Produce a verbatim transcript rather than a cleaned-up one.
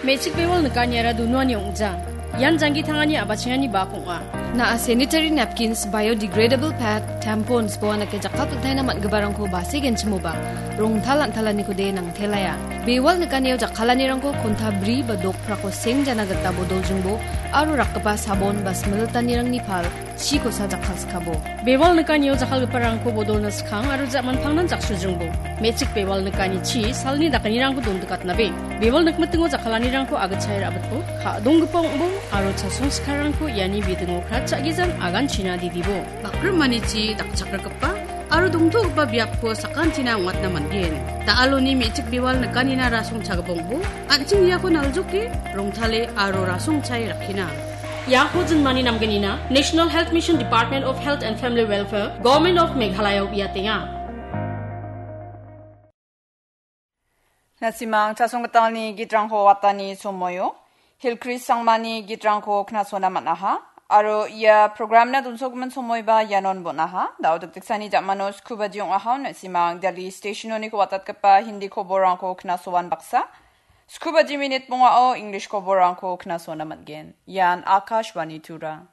Me·chik bewal nikaniara dunuani ong·ja. Ian janggi tangani a·bachengani bak ong·a. Na·a sanitary napkins, biodegradable pad, tampons, boanake jakkalpiltaina man·giparangko base genchimoba, rongtal an·talaniko de nangtelaia. Bewal nikanio jakkalanirangko konta bri ba dokprako seng jana gita bodoljingbo aro rakgipa sabon ba smiltanirangni pal chikosa jakkalskabo. Bewal nikanio jakkalgiparangko bodolna skang aro ja·manpangnan jaksujingbo. Me·chik bewal nikani chi salni dakanirangko dondikatnabe. Bewal nikmitingo jakkalanirangko agitchae ra·bitbo, ka·donggipa ong·bo aro chasong sikarangko iani bidingo kratcha·gijan aganchina didibo. Bakrimani chi dakchakrakgipa aro dongtogipa biapko sakantina ong·atna man·gen. Da·aloni me·chik bewal nikanina rasong chagipongbo, an·ching iako naljoke, rongtale aro rasong chae rakkina. Iako jinmani namgenina National Health Mission, Department of Health and Family Welfare, Government of Meghalaya-o uiatenga. Na·simang chasonggitalni gitrangko watani somoio Hilkris Sangmani gitrangko knasona man·aha. Aro ia programna donsogimin somoiba ianon bon·aha. Da·o dikdiksani ja·mano skubaji ong·aha, na·simang Delhi stationoniko watatgipa Hindi koborrangko knasoan baksa. Skubaji minit bongao English koborrangko knasona man·gen. Ian Akashvani Tura.